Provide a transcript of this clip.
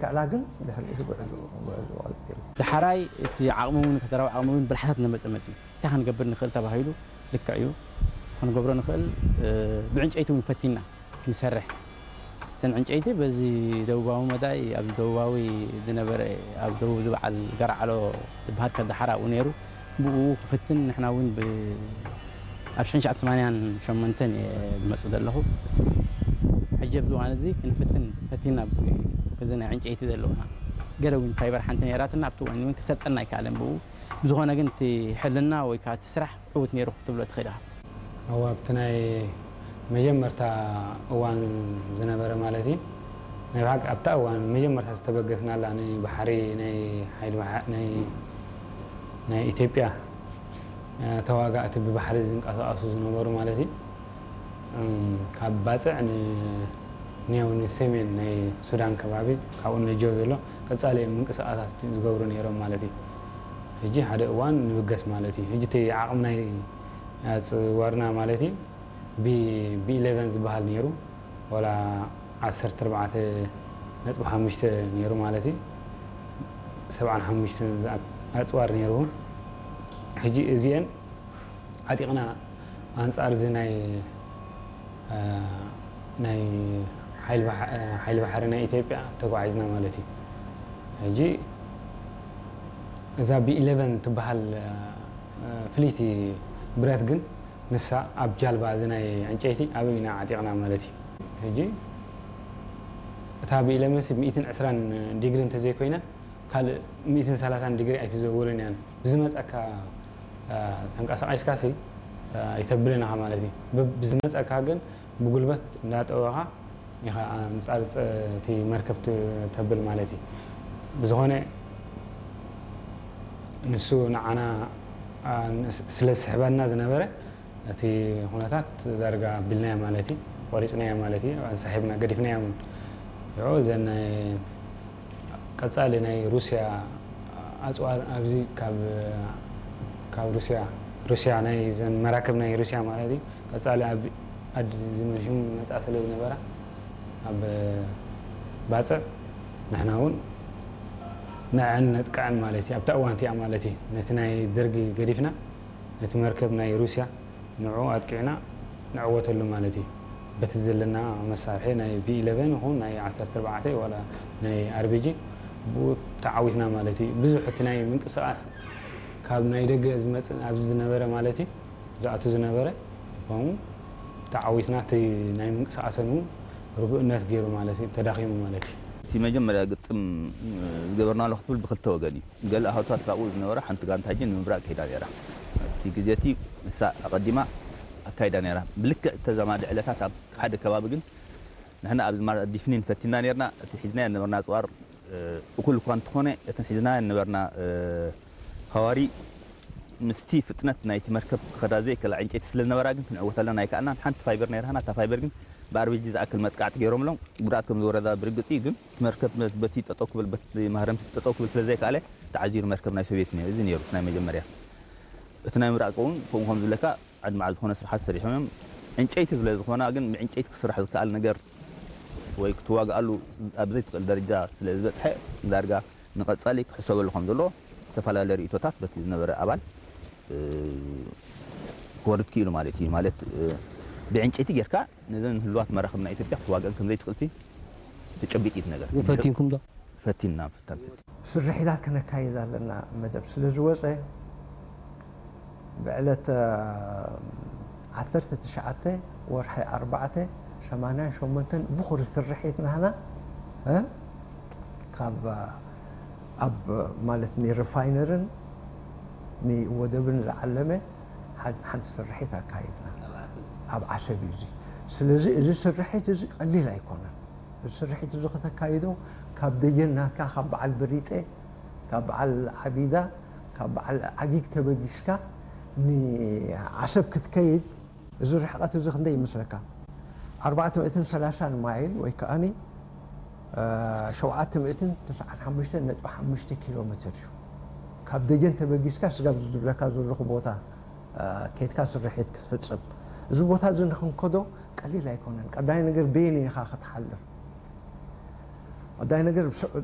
ከዕላ ግን ድሕሪ ኢሉ ጉዕዞ ጉዕዞ ቀጺሉ። ዳሕራይ እቲ ዓቕሚ እውን፣ ፈጠራዊ ዓቕሚ እውን ብልሓታት እናመጸ መጺኡ። እንታይ ክንገብር ንኽእል ተባሂሉ፣ ልክዕ እዩ። ክንገብሮ ንኽእል፣ እ፣ ብዕንጨይቲ እውን ፈቲና ክንሰርሕ። እተን ዕንጨይቲ በዚ ደቡባዊ መዳይ፣ ኣብ ደቡባዊ ዝነበረ፣ ኣብ ደቡብ ዝበዓል ገራዕሎ ዝበሃል ከዳሓራ ኣብኡ ነይሩ። ብኡ ክፍትን ንሕና እውን ብ-፣ ኣብ ሽሕን ትሽዓተ ሰማንያን ሸሞንተን እየ ዝመጽእ ዘለኹ። ሕጂ ኣብዚ እዋን እዚ ክንፍትን ፈቲና ብ-፣ እዚ ናይ ዕንጨይቲ ዘለውና ገለ እውን ፋይበር ሓንቲ ነይራትና፣ ኣብቲ እዋን እውን ክሰልጠና ኣይከኣለን ብኡ። ብዝኾነ ግን እቲ ሕልና ወይ ከዓ እቲ ስራሕ ዕዉት ነይሩ ክትብሎ ትኽእል ኢኻ። እዋ፣ ኣብቲ ናይ መጀመርታ እዋን ዝነበረ ማለት እዩ። ናይ ብሓቂ ኣብታ እዋን መጀመርታ ዝተበገስናላ ናይ ባሕሪ፣ ናይ ሓይሊ ባሕ-፣ ናይ፣ ናይ ኢትዮጵያ፣ እ፣ ተዋጋእቲ ብባሕሪ ዝንቀሳቐሱ ዝነበሩ ማለት እዩ። እም፣ ካብ ባጽዕ ን-፣ ንያው ንሰሜን ናይ ሱዳን ከባቢ፣ ካብኡ ነጀው ዘሎ ቀጻሊ እዮም ምንቅስቓሳት ዝገብሩ ነይሮም ማለት እዩ። ሕጂ ሓደ እዋን ንብገስ ማለት እዩ። ሕጂ እቲ ዓቕሚ ናይ ኣጽዋርና ማለት እዩ፣ ቢ-፣ ቢ ኢለቨን ዝበሃል ነይሩ፣ ዋላ ዓሰርተ ኣርባዕተ ነጥቢ ሓሙሽተ ነይሩ ማለት እዩ። ሰብዓን ሓሙሽተን ዝኣ-፣ ኣጽዋር ነይሩ። ሕጂ እዚአን ዓጢቕና ኣንጻር እዚ ናይ፣ እ፣ ናይ ሓይሊ ባሕ-፣ እ፣ ሓይሊ ባሕሪ ናይ ኢትዮጵያ ተጓዒዝና ማለት እዩ። ሕጂ እዛ ቢ ኢለቨን ትበሃል፣ እ፣ ፍልይቲ ብረት ግን ንሳ ኣብ ጃልባ እዚ ናይ ዕንጨይቲ ኣብይ ኢና ዓጢቕና ማለት እዩ። ሕጂ እታ ቢ ኢለቨን ሲ ሚእትን ዕስራን ዲግሪ እንተዘይኮይና ካልእ ሚእትን ሰላሳን ዲግሪ ኣይትዘውርን እያን። ብዝመጸካ፣ እ፣ ተንቀሳቒስካ ሲ፣ እ፣ ኣይተብልን ኢኻ ማለት እዩ። ብ-፣ ብዝመጸካ ግን ብጉልበት እንዳጠወኻ ኢኻ ኣንጻር ጸ-፣ እቲ መርከብ ት-፣ ተብል ማለት እዩ። ብዝኾነ ንሱ ንዓና፣ እ፣ ንስ-፣ ስለ ዝስሕበና ዝነበረ እቲ ኩነታት ዳርጋ ኣቢልናዮ ማለት እዩ፣ ቆሪጽናዮ ማለት እዩ፣ ኣንሳሒብና ገዲፍናዮ እውን። ሽዑ እዘን ናይ ቀጻሊ ናይ ሩስያ ኣጽዋር ኣብዚ ካብ፣ ካብ ሩስያ፣ ሩስያ ናይ እዘን መራክብ ናይ ሩስያ ማለት እዩ፣ ቀጻሊ ኣብ ዓዲ ዝመሽሙ መጻ ስለ ዝነበራ ኣብ ባጽዕ ንሕና እውን ንዐን ነጥቅዐን ማለት እዩ። ኣብታ እዋን እቲኣ ማለት እዩ ነቲ ናይ ደርጊ ገዲፍና ነቲ መርከብ ናይ ሩስያ ንዕኡ ኣጥቂዕና ንዕወተሉ ማለት እዩ። በቲ ዘለና መሳርሒ ናይ ቢ ኢለቨን ይኹን ናይ ዓሰርተ ኣርባዕተ ዋላ ናይ ኣር ቢ ጂ ብኡ ተዓዊትና ማለት እዩ። ብዙሕ እቲ ናይ ምንቅስቓስ ካብ ናይ ደገ ዝመጽእ ኣብዚ ዝነበረ ማለት እዩ፣ ዝኣቱ ዝነበረ፣ ከምኡ ተዓዊትና እቲ ናይ ምንቅስቓሰን እውን ርጉእነት ገይሩ ማለት እዩ፣ ተዳኺሙ ማለት እዩ። እቲ መጀመርያ ግጥም ዝገበርናሉ ክትብል ብክልተ ወገን እዩ። ገለ ኣህቱታት ካብኡ ዝነበራ ሓንቲ ጋንታ ሕጂ ንምብራቕ ከይዳ ነይራ። እቲ ግዜ እቲ ንሳ ኣቐዲማ ኣካይዳ ነይራ። ብልክዕ ተዛማዲ ዕለታት ኣብ ሓደ ከባቢ ግን ንሕና ኣብዚ ማ-፣ ዲፍኒን ፈቲና ነይርና። እቲ ሒዝናዮ ዝነበርና ኣጽዋር፣ እ፣ እኹል እኳ እንተኾነ፣ እተን ሒዝናዮ ዝነበርና፣ እ፣ ሃዋሪ ምስቲ ፍጥነት ናይቲ መርከብ ክኸዳ ዘይክእላ ዕንጨይቲ ስለ ዝነበራ ግን ክንዕወት ኣለና ኣይከኣልናን። ሓንቲ ፋይበር ነይራና፣ እታ ፋይበር ግን ብኣር ቢ ጂ ዝኣክል መጥቃዕቲ ገይሮምሎም ጉድኣት ከም ዝወረዳ ብርግጽ እዩ። ግን እቲ መርከብ በቲ ጠጠው ክብል፣ በቲ ማህረምቲ ጠጠው ክብል ስለ ዘይከኣለ ተዓዚሩ መርከብ ናይ ሶቪየት እዩ ነይሩ። እዚ ነይሩ እቲ ናይ መጀመርያ። እቲ ናይ ምብራቕ እውን ከምኡ ከም ዝብለካ ዓዲ መዓል ዝኾነ ስራሓት ሰሪሖም እዮም። ዕንጨይቲ ስለ ዝኾና ግን ብዕንጨይቲ ክስራሕ ዝከኣል ነገር ወይ ክትዋግኣሉ ኣብ ዘይትኽእል ደረጃ ስለ ዝበጽሐ ዳርጋ ንቐጻሊ ክሕሰበሉ ከም ዘለዎ ዝተፈላለየ ርእይቶታት በቲ ዝነበረ ኣባል፣ እ፣ ክወርድ ክኢሉ ማለት እዩ። ማለት፣ እ፣ ብዕንጨይቲ ጌርካ ነዘን ህሉዋት መራኽብ ናይ ኢትዮጵያ ክትዋግአን ከም ዘይትኽእልሲ ተጨቢጢ እዩ እቲ ነገር። ፈቲንኩም ዶ? ፈቲንና፣ ፈታን ፈቲን። ስርሒታት ከነካይድ ኣለና መደብ ስለ ዝወጸ፣ ብዕለት፣ እ፣ ዓሰርተ ትሽዓተ ወርሒ ኣርባዕተ ሰማንያን ሸሞንተን ብኹሪ ስርሒት ናህና፣ እ፣ ካብ፣ ኣብ፣ ማለት ንሪፋይነርን ንወደብን ዝዓለመ ሓ-፣ ሓንቲ ስርሒት ኣካይድና። ኣብ ዓሰብ። ኣብ ዓሰብ እዩ እዚ። ስለዚ እዚ ስርሒት እዚ ቀሊል ኣይኮነን። እዚ ስርሒት እዚ ከተካይዶ ካብ ደጀን ናትካ፣ ካብ በዓል ብሪጤ፣ ካብ በዓል ዓቢዳ፣ ካብ በዓል ዓጊግ ተበጊስካ ንዓሰብ ክትከይድ፣ እዚ ርሕቀት እዚ ክንደይ ይመስለካ? ኣርባዕተ ሚእትን ሰላሳን ማይል ወይ ከኣኒ፣ እ፣ ሸውዓተ ሚእትን ተስዓን ሓሙሽተን ነጥቢ ሓሙሽተ ኪሎ ሜትር እዩ። ካብ ደጀን ተበጊስካ ስጋብ ዝብለካ ዘለኹ ቦታ፣ እ፣ ኬድካ ስርሒት ክትፍጽም። እዚ ቦታ እዚ ንክንከዶ ቀሊል ኣይኮነን። ቀዳይ ነገር በየን ኢኻ ክትሓልፍ? ቀዳይ ነገር ብስዑ-፣